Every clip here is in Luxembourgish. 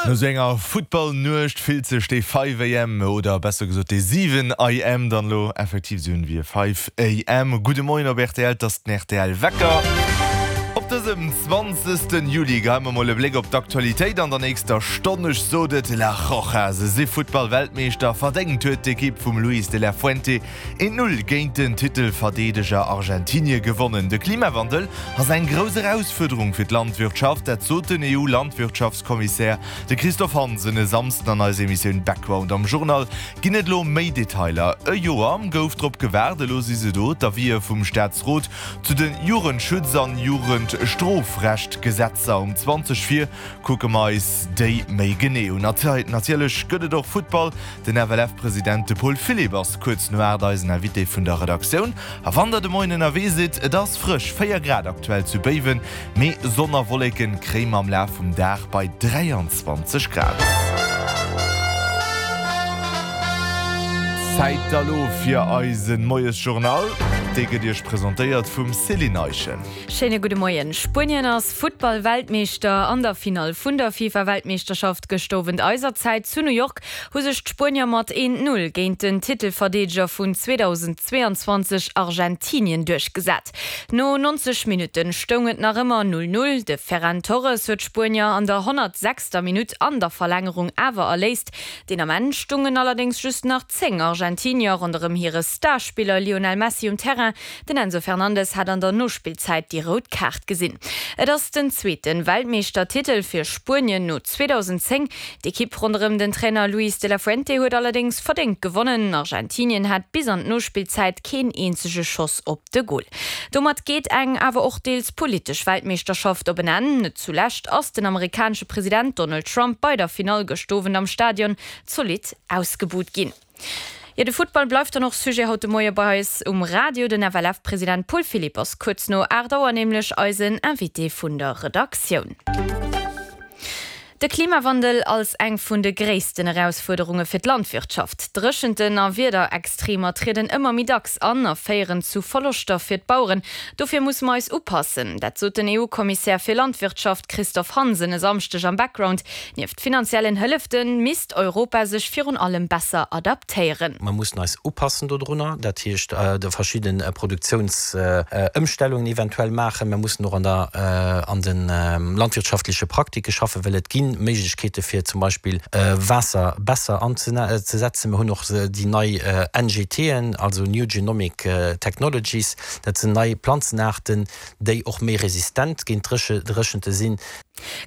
No sou enger Futtball-Nuecht fillt sech dee 5 AM, oder besser gesot dee 7 AM dann elo effektiv esou un wéi e 5 AM. Gudde Moien op rtl, 't ass den rtl Wecker. Op dësem 20. Juli geheie mer mol e Bléck op d'Aktualitéit an der nächster Stonn. Ech sot et, La Roja, se si Futtball-Weltmeeschter. Verdéngt huet d'Ekipp vum Luis de la Fuente Een Null géint den Titelverdeedeger Argentinie gewonnen. De Klimawandel ass eng grouss Erausfuerderung fir d'Landwirtschaft, dat sot den EU-Landwirtschaftskommissär, de Christophe Hansen, e Samsden an eiser Emissioun Background. Am Journal ginn et elo méi Detailer. E Joer gouf drop gewaart, elo si se do, d'Avisë vum Staatsrot zu de Jugendschutz an Jugendstrofrechtgesetzer. Um 20 vir kucke mer eis déi méi genee un. Natierlech gëtt et och Futtball. Den FLF-President, de Paul Philipp, ass kuerz no 8 eisen Invité vun der Redaktioun. A wann der de Moien ënnerwee sidd, et ass frësch, 4 Grad aktuell zu Béiwen, mee Sonn a Wolleken kréie mer am Laf vum Dag bei 23 Grad. Zäit da lo fir eise Moiesjournal, dee gëtt Iech presentéiert vum Céline Eischen. Schéine gudde Moien. Spuenien ass Futtball-Weltmeeschter. An der Finall vun der FIFA-Weltmeeschterschaft gëscht Owend eiser Zäit zu New York hu sech d'Spuenier mat 1, 0 géint den Titelverdeedeger vun 2022 Argentinien duerchgesat. No 90 Minutte stoung et nach ëmmer 0, 0. De Ferran Torres huet d'Spuenier an der 106. Minutt an der Verlängerung awer erléist. Deen Ament stungen allerdéngs just nach 10 Argentinier ronderëm hire Starspiller Lionel Messi um Terrain. Den Enzo Fernandez hat an der Nospillzäit déi rout Kaart gesinn. Et ass den zweete Weltmeeschtertitel fir Spuenien no 2010. D'Ekipp ronderëm den Trainer Luis de la Fuente huet allerdéngs verdéngt gewonnen. Argentinien hat bis an d'Nospillzäit keen eenzege Schoss op de Gol. Domat geet eng awer och deels politesch Weltmeeschterschaft op en Enn. Net zulescht ass den amerikanesche President Donald Trump bei der Finall gëscht Owend am Stadion zolidd ausgebuht ginn. Jo, de Futtball bleift dann och Sujet haut de Moie bei eis um Radio. Den FLF-President Paul Philipp ass kuerz no 8 Auer nämlech eisen Invité vun der Redaktioun. De Klimawandel als eng vun de gréissten Erausfuerderunge fir d'Landwirtschaft. Dréchenten a Wiederextremer trieden ëmmer méi dacks an a féieren zu Verloschter fir d'Baueren. Dofir musse mer eis upassen. Dat sot den EU-Kommissär fir Landwirtschaft Christophe Hansen e Samschdeg am Background. Nieft finanziellen Hëllefte misst Europa sech virun allem besser adaptéieren. Mer mussen eis upassen dodrunner, dat heescht verschidde Produktiounsëmstellungen eventuell maachen. Mer mussen och an der an de landwirtschaftleche Praktike schaffen, well et gi Méiglechkeete fir zum Beispill Waasser besser anzesetzen. Mer hunn och déi nei NGTen, also New Genomic Technologies, dat sinn nei Planzenaarten, déi och méi resistent géint Dréchente sinn.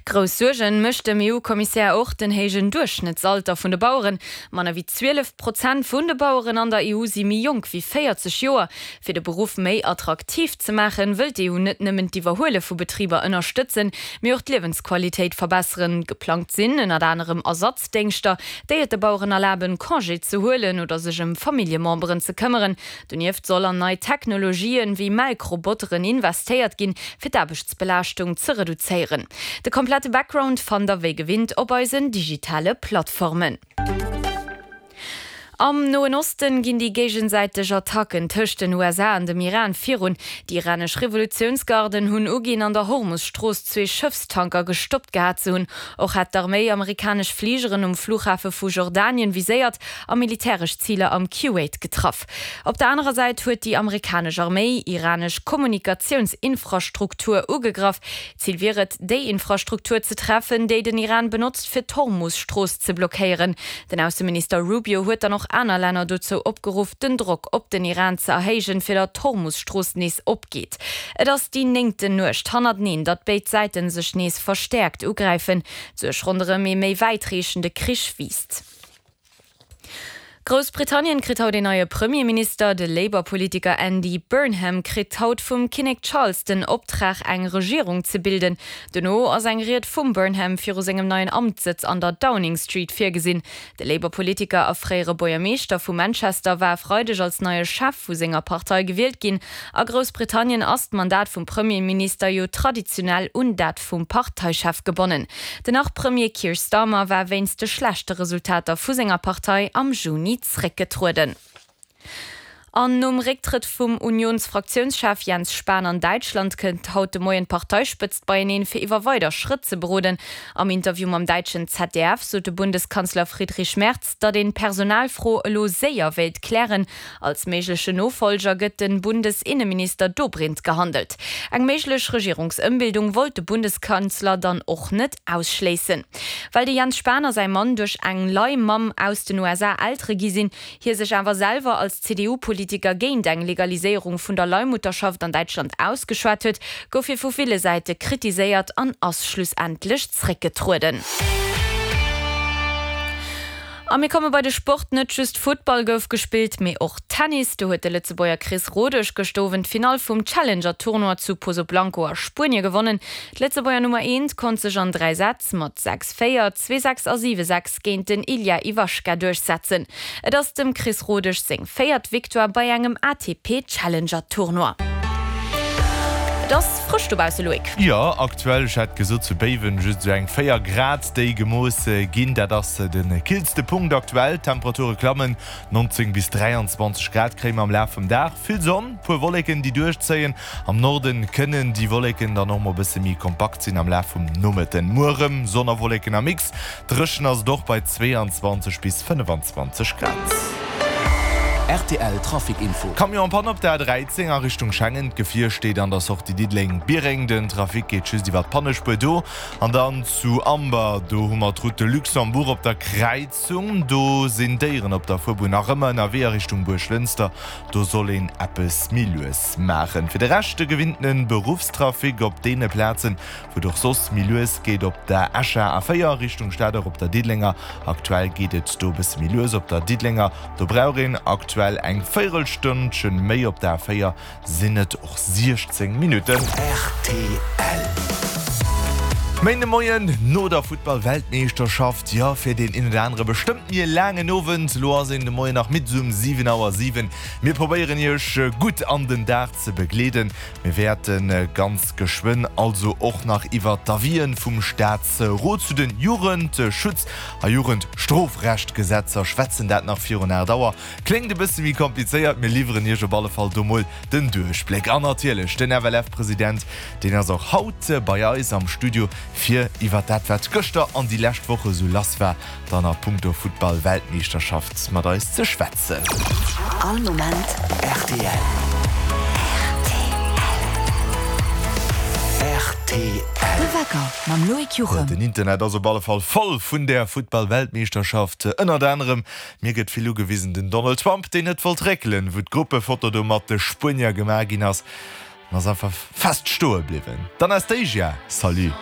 Grouss Suergen mécht dem EU-Kommissär och den héijen Duerchschnëttsalter vun de Baueren. Manner wéi 12 Prozent vun de Baueren an der EU si méi jonk wéi 40 Joer. Fir de Beruff méi attraktiv ze maachen, wëll d'EU net nëmmen d'Iwwerhuele vu Betriber ënnerstëtzen, mee och d'Liewensqualitéit verbesseren. Geplangt sinn ënnert anerem Ersatzdéngschter, déi et de Baueren erlaben, Congé ze huelen oder sech ëm Familljememberen ze këmmeren. Donieft soll an nei Technologien, wéi Melkroboteren, investéiert ginn, fir d'Aarbechtsbelaaschtung ze reduzéieren. De komplette Background fannt der wéi gewinnt op eisen digitale Plattformen. Am Noen Osten ginn déi géigesäiteg Attacken tëscht den USA an dem Iran virun. Déi iranesch Revolutiounsgarden hunn uginn, an der Hormus-Strooss zwee Schëffstanker gestoppt gehat ze hunn. Och hätt d'Arméi amerikanesch Fligeren um Flughafe vu Jordanien viséiert a militäresch Ziler am Kuwait getraff. Op der anerer Säit huet déi amerikanesch Arméi iranesch Kommunikatiounsinfrastruktur ugegraff. Zil wier et, déi Infrastruktur ze treffen, déi den Iran benotzt, fir d'Hormus-Strooss ze blockéieren. Den Ausseminister Rubio huet dann och aner Länner dozou opgeruff, den Drock op den Iran ze erhéijen, fir datt d'Hormus-Strooss nees opgeet. Et ass déi néngten Nuecht hannerteneen, datt béid Säite sech nees verstäerkt ugräifen. D'Suerg ronderëm ee méi wäitreechende Krich wiisst. Groussbritannien kritt haut een neie Premierminister. De Labour-Politiker Andy Burnham kritt haut vum Kinnek Charles den Optrag eng Regierung ze bilden. Dono ass eng Ried vum Burnham viru sengem neien Amtssëtz an der Downing Street virgesinn. De Labour-Politiker a fréiere Buergermeeschter vu Manchester war e Freideg als neie Chef vu senger Partei gewielt ginn. A Groussbritannien ass d'Mandat vum Premierminister jo traditionell un dat vum Parteichef gebonnen. Den Nach-Premier Keir Starmer war wéinst de schlechte Resultater vu senger Partei am Juni zréckgetrueden. An nom Récktrëtt vum Unionsfraktiounschef Jens Spahn an Däitschland kënnt haut de Moien d'Parteispëtzt beieneen, fir iwwer weider Schrëtt ze beroden. Am Interview mam däitschen ZDF sot de Bundeskanzler Friedrich Merz, datt een d'Personalfro elo séier wéilt klären. Als méiglechen Nofollger gëtt de Bundesinneminister Dobrindt gehandelt. Eng méiglech Regierungsëmbildung wollt de Bundeskanzler dann och net ausschléissen. Well de Jens Spahn a säi Mann duerch eng Leihmamm aus den USA Eltere gi sinn, hie sech awer selwer als CDU-Politiker géint eng Legaliséierung vun der Leihmutterschaft an Däitschland ausgeschwat huet, gouf hie vu ville Säite kritiséiert an ass schlussendlech zréckgetrueden. A mir komme bei de Sport, Net just Futtball gouf gespillt, mee och Tennis. Do huet de Lëtzebuerger Chris Rodesch gëscht Owend d'Finall vum Challenger-Tournoi zu Pozoblanco a Spuenie gewonnen. D'Lëtzebuerger Nummer eent konnt sech an 3 Sätz mat 6, 4, 2, 6 a 7, 6 géint den Ilya Ivashka duerchsetzen. Et ass dem Chris Rodesch seng véiert Victoire bei engem ATP Challenger Tournoi. Et ass frësch dobausse, Loïc. Jo, aktuell, ech hat gesot zu Béiwen just esou eng 4 Grad déi gemooss ginn. Dat ass de killste Punkt aktuell. D'Temperature klammen, 19 bis 23 Grad kréie mer am Laf vum Dag. Vill Sonn, puer Wolleken déi duerchzéien. Am Norden kënnen déi Wolleken dann och mol e bësse méi kompakt sinn am Laf vum Nomëtten. Muer erëm Sonn a Wolleken am Mix. Dréchen ass et och bei 22 bis 25 Grad. Rtl Trafic Info. Camion en panne op der A13 a Richtung Schengen. D'Gefier steet an der Sortie Diddeleng-Biereng. Den Trafic geet just iwwer d'Pannespuer do. An dann zu Amber, do hu mer d'Route de Luxembourg op der Kräizung. Do sinn Déieren op der Fuerbunn nach ëmmer ënnerwee a Richtung Buerglënster. Do soll een eppes méi lues maachen. Fir de Rescht de gewinntene Beruffstrafic op deene Plazen, Wou et och soss méi lues geet op der Escher A4 Richtung Stad, och op der Diddelenger. Aktuell geet et do e bësse méi lues op der Diddelenger. Do brauch een aktuell eng Véierelstënnchen méi. Op der A4 sinn et och 16 Minutten. Rtl. Méindemoien no der Futtball-Weltmeeschterschaft, jo fir deen een oder anere bestëmmt méi e laangen Owend. Elo ass een de Moien nach midd, esou um 7 Auer 7. Mir probéieren iech gutt an den Dag ze begleeden. Mir wäerte ganz geschwënn also och nach iwwert d'Avisen vum Staatsrot zu den Jugendschutz a Jugendstrofrechtgesetzer schwätzen, dat nach virun 8 Auer. Kléngt e bësse méi komplizéiert, mir liwweren Iech op alle Fall do mol den Duerchbléck. An natierlech den FLF-President, deen ass och haut bei eis am Studio, fir iwwert dat, wat gëschter an déi lescht Woche sou lass war, dann a punkto Futtball-Weltmeeschterschaft mat eis ze schwätzen. All Moment rtl. Rtl. De Wecker mam Loïc Juchem. Den Internet ass op alle Fall voll vun der Futtball-Weltmeeschterschaft. Ënnert anerem, mir gëtt vill ugewisen, den Donald Trump, deen net wollt réckelen, wou d'Gruppefoto do mat de Spuenier gemaach ginn ass, en ass einfach fest stoe bliwwen. D'Anastasia, salut.